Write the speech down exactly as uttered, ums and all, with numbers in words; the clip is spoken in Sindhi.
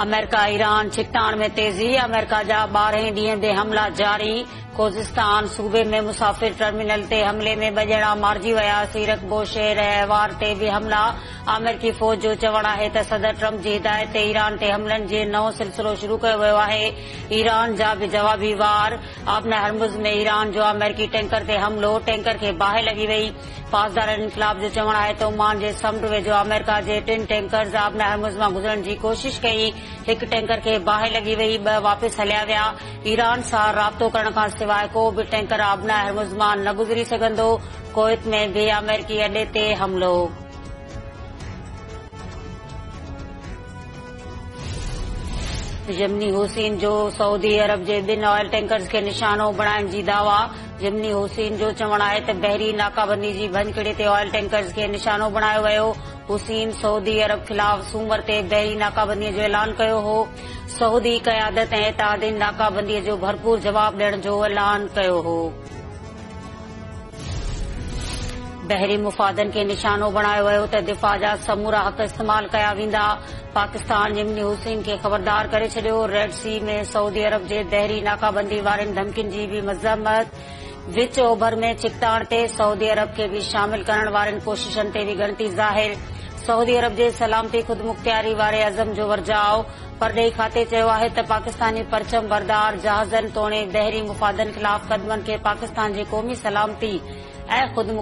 آمريڪا ايران ڇڪتاڻ ۾ تيزي، آمريڪا جا ٻارهين ڏينهن تي حملا جاري. خوزستان صوبي ۾ مسافر ٽرمينل تي حملي ۾ ٻه ڄڻا مارجي ويا. سيرڪ بوشهر ۽ اهوار تي به حملا. آمريڪي فوج جو چوڻ آهي ته صدر ٽرمپ جي هدايت تي ايران تي حملن جي نئون سلسلو شروع ڪيو ويو آهي. ايران جا به جوابي وار. آبنائي هرمز ۾ ايران جو آمريڪي ٽينڪر تي حملو، ٽينڪر کي باهه لڳي وئي. پاسداران انقلاب جو چوڻ آهي ته عمان جي سمنڊ ويجهو آمريڪا جي ٽن ٽينڪرز آبنائي هرمز مان گذرڻ جي ڪوشش ڪئي، هڪ ٽينڪر کي باهه لڳي وئي، ٻه واپس هليا ويا. ايران سان رابطو ڪرڻ کان سواءِ ڪو به ٽينڪر آبنائي هرمز مان نه گذري سگهندو. ڪويت ۾ به آمريڪي اڏي تي حملو. يمني حوثين جو سعودي عرب جي ٻن آئل ٽينڪرز کي نشانو بڻائڻ جي دعويٰ. يمني حوثين جو چوڻ آهي ته بحري ناڪابندي جي ڀڃڪڙي تي آئل ٽينڪرز کي نشانو بڻايو ويو. حوثين سعودي عرب خلاف سومر تي بحري ناڪابندي جو اعلان ڪيو هو. سعودي قيادت ۽ اتحادين ناڪابندي جو ڀرپور جواب ڏيڻ جو اعلان ڪيو هو. بحري مفادن کي نشانو بڻايو ويو ته دفاع جا سمورا حق استعمال ڪيا ويندا. پاڪستان يمني حوثين کي خبردار ڪري ڇڏيو. ريڊ سي ۾ سعودي عرب جي بحري ناڪابندي وارين ڌمڪين جي به مذمت. وچ اوڀر ۾ ڇڪتاڻ تي سعودي عرب کي به شامل ڪرڻ وارين ڪوششن تي به ڳڻتي ظاهر. سعودي عرب جي سلامتي خودمختياري واري عزم جو ورجاءُ. پرڏيهي کاتي چيو آهي ته پاڪستاني پرچم بردار جهازن توڻي بحري مفادن خلاف قدمن کي پاڪستان جي قومي سلامتي ۽ خود